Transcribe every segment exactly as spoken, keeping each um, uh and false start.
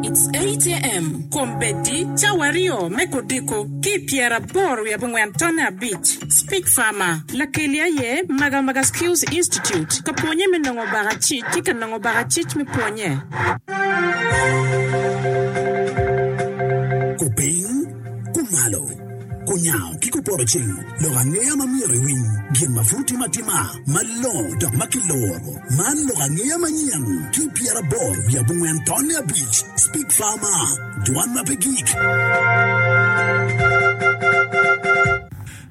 It's eight AM. Kombeddi cawa aryo me kodiko ki pyeraboro wiye abongwen tonne abic. Speak Farmer. Lakeli aye Magamaga Skills Institute. Ka pwonye me nongo bakacic ki ka nongo bakacic me pwonye. Kupiny, kumalo, kunyango ki kupoto ceng, lok angeya ma myero iwiny, gin ma pud timo atima, malongo dok ma kiloro. Man lok angeya manyen ki pyeraboro wiye abongwen tonne abic. Speak Farmer, dwan ma pe gik.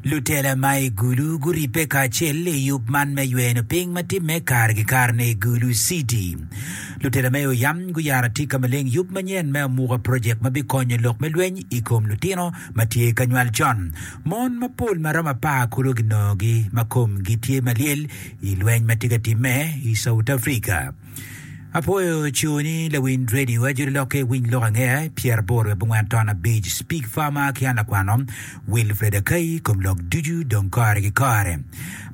Lutela ma i Gulu guribbe kacel i yub man me yweno piny ma timme kare ki kare-ni i Gulu City. Lutela me Oyam guyaro atika maleng yub manyen me Amuka Project ma bikonyo lok me lweny i kom lutino ma tye ka nywal con. Mon mapol ma romo apar kulu ginongogi ma komgi tye malyel i lweny ma tye ka timme i South Africa. Apwoyo coni lawiny radio ajoli lokke winy lok angeya pyeraboro wiye abongwen ton abic Speak Farmer ki an lakwano Wilfred Akai kom lok ducu dong kore ki kore.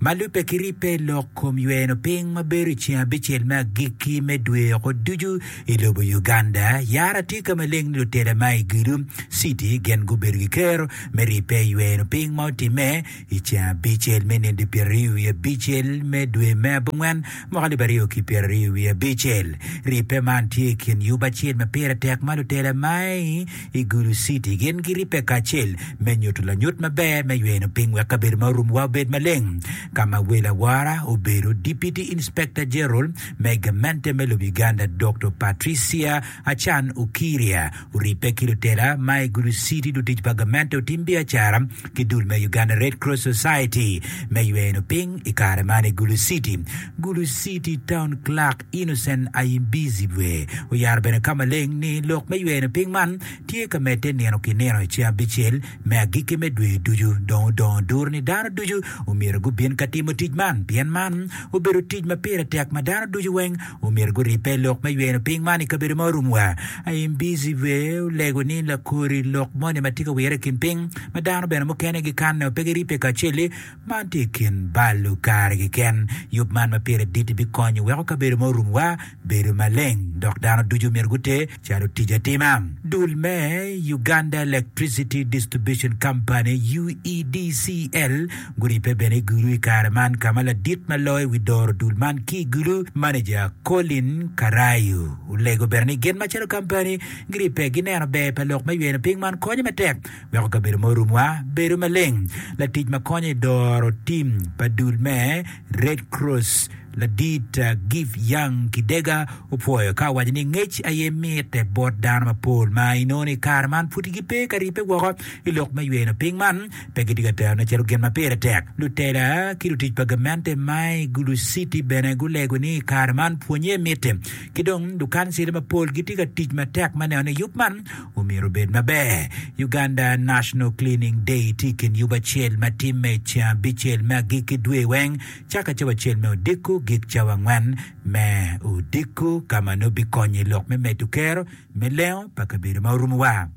Ma lubbe ki ribbe lok kom yweno piny ma bedo i ceng abicel me agikki me dwe oko ducu i lobo Uganda, yara tye ka maleng ni lutela ma i Gulu City gin gubedo ki kero me ribbe i yweno piny ma otimme i ceng abicel me nino pyeraryo wiye abicel me dwe me abongwen mwaka alip aryo ki pyeraryo wiye abicel. Ribbe man tye i kin yub acel ma pire tek ma lutela ma i Gulu City gin giribbe kacel me nyuto lanyut maber me yweno piny wek kabedo ma orumowa obed maleng. Ka ma wel awora obedo Deputy Inspector General me gamente me lobo Uganda Doktor Patricia Achan Okiria oribbe ki lutela ma i Gulu City, lutic pa gamente otim biacara ki dul me Uganda Red Cross Society me yweno piny i kare man i Gulu City. Gulu City Town Clerk Innocent Ayimbizibwe oyaro bene ka maleng ni lok me yweno piny man tye ka medde nino ki nino i ceng abicel me agikki me dwe ducu. Dong odongo duru ni dano ducu omyero gubin ka timo tic man pien man obedo tic ma pire tek ma dano ducu weng omyero guribbe lok me yweno piny man i kabedo ma orumwa. Ayimbizibwe olego ni lakori lok moni ma tye ka wire i kin piny ma dano bene mukene gikanne pe giribbe kacel-li man tye i kin balo kare keken. Yub man ma pire dit-ti bikonyo weko kabedo ma orumwa bedo maleng dok dano ducu myero guter calo tic atima. Dul me Uganda Electricity Distribution Company, UEDCL, guribbe bene i Gulu i kare man ka ma ladit ma loyo wi doro dul man ki i Gulu, Manager Colin Karayu olego bene ni gin macalo kampani giribbe gineno ber pa lok me yweno piny man konyo matek weko kabedo ma orumwa bedo maleng. Latic ma konyo i doro tim pa dul me Red Cross ladit Give Young Kidega opwoyo ka owaco ni ngec aye mitte bot dano mapol ma inongo ni i kare man pud gipe ka ribbe woko i lok me yweno piny man pe gitye ka terone calo gin ma pire tek. Lutela ki lutic pa gamente ma i Gulu City bene gulego ni i kare man pwonye mitte ki dong lukancila mapol gitye ka tic matek me neno ni yub man omyero obed maber. Uganda National Cleaning Day tye i kin yub acel ma timme i ceng abicel me agikki dwe weng caka cawa acel me odiko gik cawa angwen me odiko ka ma nongo bikonyo i lok me medo kero me lengo pa kabedo ma orumowa.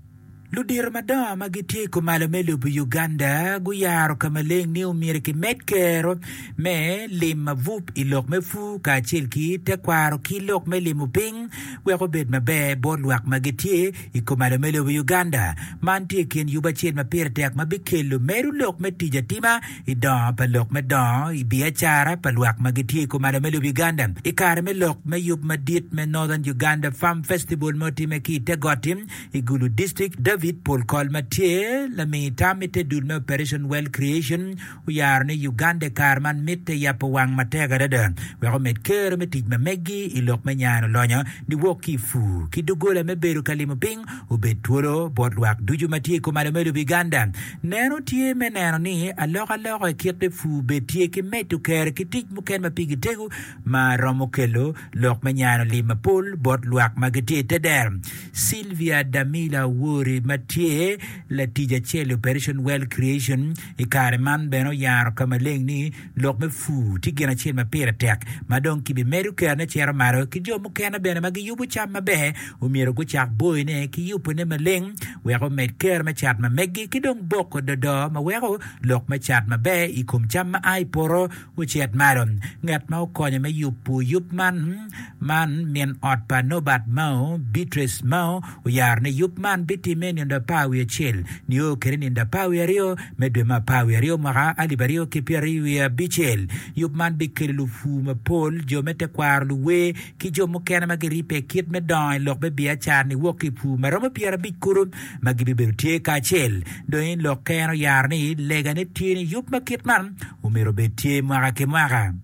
Ludito madongo ma gitye i kumalo me lobo Uganda guyaro ka maleng ni omyero kimed kero me lim mabup i lok me pur kacel ki tekwaro ki lok me limo piny wek obed maber bot lwak ma gitye i kumalo me lobo Uganda. Man tye i kin yub acel ma pire tek ma bikelo medo lok me tic atima i dongo pa lok me dongo i biacara pa lwak ma gitye i kumalo me lobo Uganda. I kare me lok me yub madit me Northern Uganda Farm Festival ma otime ki i te got-ti i Gulu District, David Polkol ma tye lami tam i te dul me Operation Wealth Creation oyaro ni Uganda i kare man mitte yabo wang matek adada wek omed kero me tic ma meggi i lok me nyano lonyo niwok ki i pur ki doggola me bedo ka limo piny obed twolo bot lwak ducu ma tye i kumalo me lobo Uganda. Neno tye me neno ni alokaloka i kit me pur bed tye ki medo kero ki tic mukene ma pigi tego ma romo kelo lok me nyano lim mapol bot lwak ma gitye i te dero. Sylvia Damila Owori ma tye latic acel i Operation Wealth Creation i kare man bene oyaro ka maleng ni lok me pur tye gin acel ma pire tek ma dong kibimedo kerone cito malo ki jo mukene bene ma giyubo cam maber omyero gucak boyone ki yubone maleng wek omed ker me cat ma meggi ki dong boko dodo ma weko lok me cat maber i kom cam ma a i poto ocit malo. Ngat ma okonyo me yubo yub man man min ot pa Norbert Mao, Beatrice Mao, oyaro ni yub man bitimme i nindo apar wiye acel nio kwede nindo apar wiye aryo me dwe me apar wiye aryo mwaka alip aryo ki pyeraryo wiye abicel. Yub man bikelo lupur mapol, jo me tekwaro, luwer, ki jo mukene ma giribbe i kit me dongo i lok me biacara niwok ki i pur ma romo pyerabic kulu ma gibibedo tye kacel. Dong i lokke en oyaro ni legane tye ni yub ma kit man omyero obed tye mwaka ki mwaka.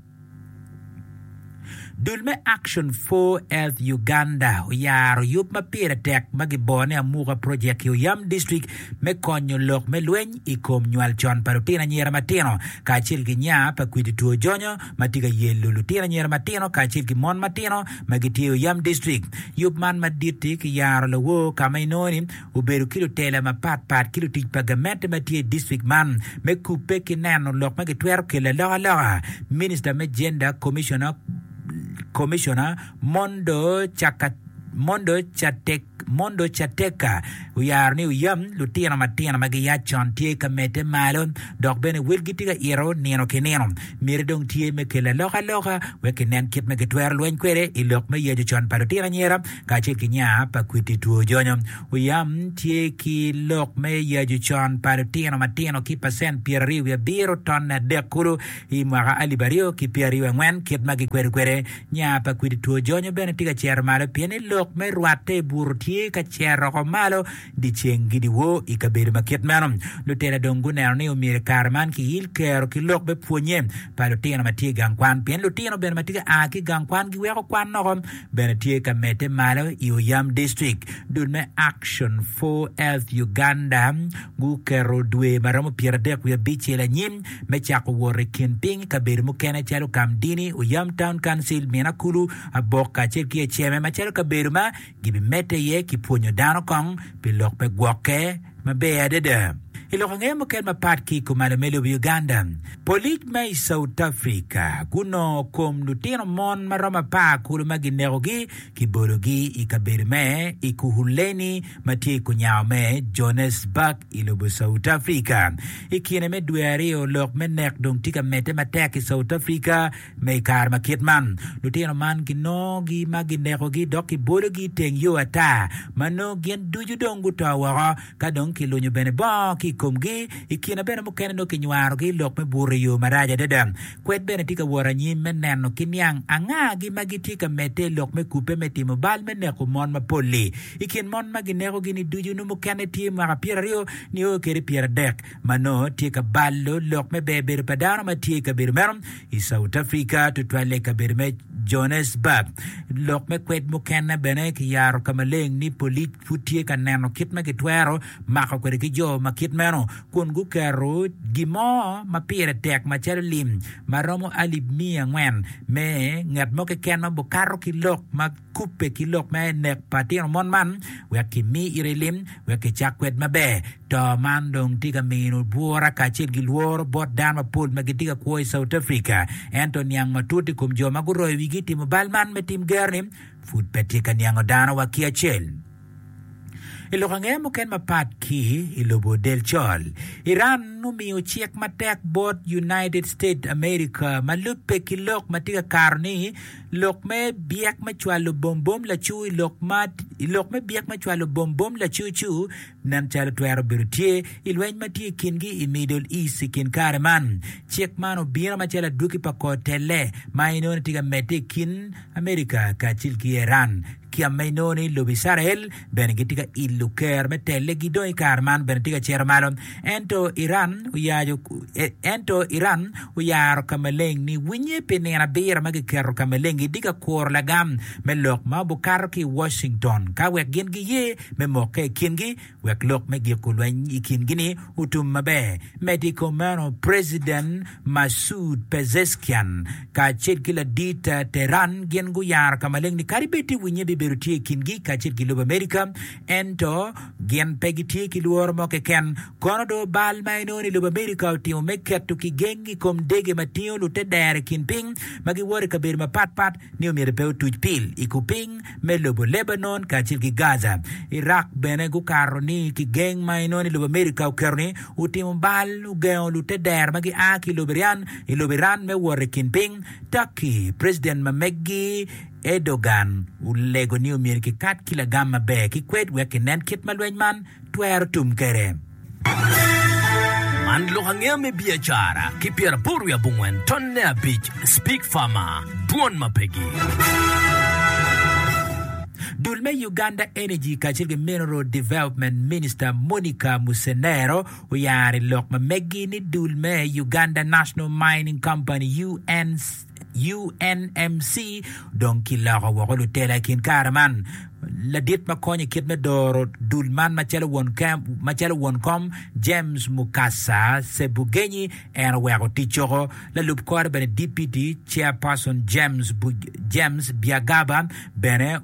Dul me Action for Health Uganda oyaro yub ma pire tek ma gibone ni Amuka Project i Oyam District me konyo lok me lweny i kom nywal con pa lutino anyira matino kacel ki nya pa kwidi two jonyo ma tye ka yelo lutino anyira matino kacel ki mon matino ma gitye i Oyam District. Yub man madit-ti kiyaro lawor ka ma inongo ni obedo ki lutela mapat pat ki lutic pa gamente ma tye i district man me kubbe ki neno lok ma gitwero kelo alokaloka. Minista me Gender Commissioner Commissioner Mondo Chaka Mondo Chatek Mondo Chateka oyaro ni oyam lutino matino ma giyac con tye ka medde malo dok bene welgi tye ka ito nino ki nino. Miti dong tye me kelo alokaloka wek kinen kit ma gitwero lweny kwede i lok me yaco con pa lutino anyira kacel ki nya pa kwiti two jonyo. Oyam tye ki lok me yaco con pa lutino matino ki pacent pyeraryo wiye abiro tonne adek kulu i mwaka alip aryo ki pyeraryo angwen kit ma gikwedo kwede. Nya pa kwidi two jonyo bene tye ka cito malo pien ni lok me rwatte i buto tye ka cito oko malo dyeceng ki dyewor i kabedo ma kit meno. Lutela dong guneno ni omyero i kare man kiil kero ki lok me pwonye pa lutino ma tye i gang kwan pien lutino bene ma tye ka a ki i gang kwan giweko kwan noko bene tye ka medde malo i Oyam District. Dul me Action for Health Uganda guketo dwe ma romo pyeradek wiye abicel anyim me cako wot i kin piny i kabedo mukene calo Kamdini, Oyam Town Council, Minakulu, Abok kacel ki Eceme macalo kabedo ma gibimedde iye ki pwonyo dano kong pi lok me gwokke maber adada. I lok angeya mukene mapat ki i kumalo me lobo Uganda, polic ma i South Africa gunongo kom lutino mon ma romo apar kulu ma ginekogi kibologi i kabedo me Ekurhuleni ma tye i kunyango me Johannesburg i lobo South Africa. I kine me dwe aryo, lok me nek dong tye ka medde matek i South Africa me i kare ma kit man. Lutino man kinongogi ma ginekogi dok kibologi i teng yo ata ma nongo gin ducu dong guto woko ka dong kilunyo bene bongo ki i komgi. I kine bene mukene nongo kinywarogi i lok me buto i yo marac adada. Kwed bene tye ka wot anyim me neno ki niang angagi ma gitye ka medde i lok me kubbe me timo bal me neko mon mapol-li. I kin mon ma ginekogi-ni ducu nongo mukene tye mwaka pyeraryo nio kwede pyeradek ma nongo tye ka balo lok me ber bedo pa dano ma tye i kabedo meno i South Africa, tutwalle i kabedo me Johannesburg. Lok me kwed mukene bene kiyaro ka maleng ni polic pud tye ka neno kit ma gitwero mako kwede ki jo ma kit meno kun guketo gin mo ma pire tek macalo lim ma romo alip miya angwen me ngat mo keken ma bukato ki lok ma kubbe ki lok me nek pa tino mon man wek kimi ite lim wek kicak kwed maber. To man dong tye ka mino bwura kacel ki lworo bot dano mapol ma gitye ka kwo i South Africa. Ento niang matut i kom jo ma guroyo wigi i timo bal man me tim gero-ni pud pe tye ka niango dano wa ki acel. I lok angeya mukene mapat ki i lobo del col, Iran omiyo cik matek bot United States America ma lubbe ki lok ma tye ka kato ni lok me byek me cwalo bombom lacu i lok ma i lok me byek me cwalo bombom lacucu nen calo twero bedo tye i lweny ma tye i kingi i Middle East i kin kare man. Cik man obino macalo adwogi pa kor telle ma inongo ni tye ka medde i kin America kacel ki Iran. Ki ma inongo ni lobo Icrael bene gitye ka ilo ker me tellegi dong i kare man bene tye ka cito malo. Ento Iran oyaco ento Iran oyaro ka maleng ni winye pi nino abiro ma giketo ka maleng gitye ka kuro lagam me lok ma obukato ki i Washington ka wek gin giye me mokke i kingi wek lok me giko lweny i kingi-ni otum maber. Medo i kom meno, President Masoud Pezeshkian kacel ki ladit Tehran gin guyaro ka maleng ni kadi bed ti winye bibedo bibedo tye i kingi kacel ki lobo Amerika ento gin pe gitye ki lworo mo keken. Kono do bal ma inongo ni lobo Amerika otimo me keto kigeng i kom dege ma tingo lute dero i kin piny ma giwoto i kabedo mapat pat ni omyero pe otuc pil i kupiny me lobo Lebanon kacel ki Gaza. Iraq bene gukato ni kigeng ma inongo ni lobo Amerika oketo ni otimo bal ogengo lute dero ma gia ki i lobo Iran i lobo Iran me wot i kin piny. Turkey, President ma meggi Erdogan olego ni omyero kikat ki lagam maber ki kwed wek kinen kit ma lweny man twero tum kwede. Man lok angeya me biacara ki pyeraboro wiye abongwen tonne abic Speak Farmer, Dwon ma pegi. Dul me Uganda Energy kacel ki Mineral Development Minister Monica Musenero oyaro i lok ma meggi ni dul me Uganda National Mining Company UNMC dong kiloko woko lutela i kin kare man. Ladit ma konyo i kit me doro dul man macalo won kom James Mukasa Sebugenyi en oweko tic coko. Lalub kore bene Deputy Chairperson James James Byagaba bene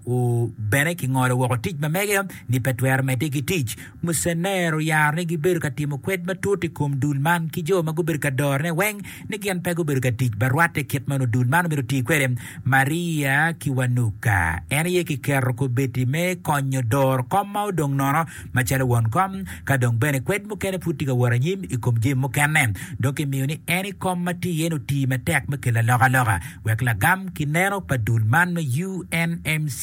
bene kingolo woko tic ma mege ni pe twero medde ki tic. Musenero oyaro ni gibedo ka timo kwed matut i kom dul man ki jo ma gubedo ka dorone weng ni gin pe gubedo ka tic ba rwatte kit ma onongo dul man omyero oti kwede. Maria Kiwanuka en aye kiketo kobedi me konyo doro kom ma odong nono macalo won kom ka dong bene kwed mukene pud tye ka wot anyim i kom jami mukene. Dong kimiyo ni en i kom ma tye iye-ni oti matek me kelo alokaloka wek lagam ki neno pa dul man me UNMC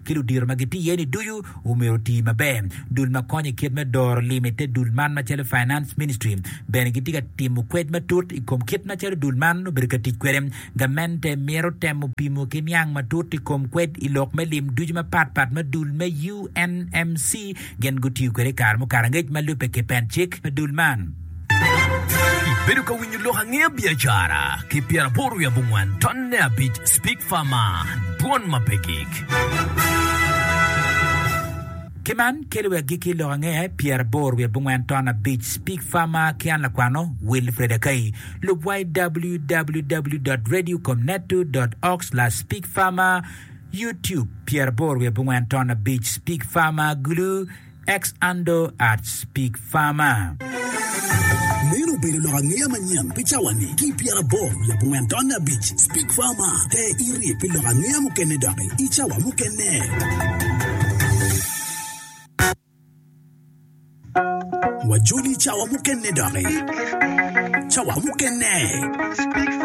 ki ludito ma gitye iye-ni ducu omyero oti maber. Dul ma konyo i kit me doro lim i te dul man macalo Finance Ministry bene gitye ka timo kwed matut i kom kit macalo dul man obedo ka tic kwede. Gamente mito temo pimo ki niang matut i kom kwed i lok me lim ducu mapat pat ma dul me UNMC gin gutiyo kwede i kare mukato angec ma lubbe ki pen cik me dul man. Ibedo ka winyo lok angeya biacara ki pyeraboro wiye abongwen tonne abic Speak Farmer, Dwon ma pe gik. Ki man kelo wi agikki lok angeya pyeraboro wiye abongwen ton abic Speak Farmer ki an lakwano Wilfred Akai. Lub wa i www dot radiocomneto dot org slash speakfarmer, YouTube pyeraboro wiye abongwen ton abic Speak Farmer Gulu, X handle at Speak Farmer. Meno obedo lok angeya manyen pi cawa-ni ki i pyeraboro wiye abongwen tonne abic Speak Farmer. Ter iri pi lok angeya mukene doki i cawa mukene. Wajoli i cawa mukene doki. Cawa mukene.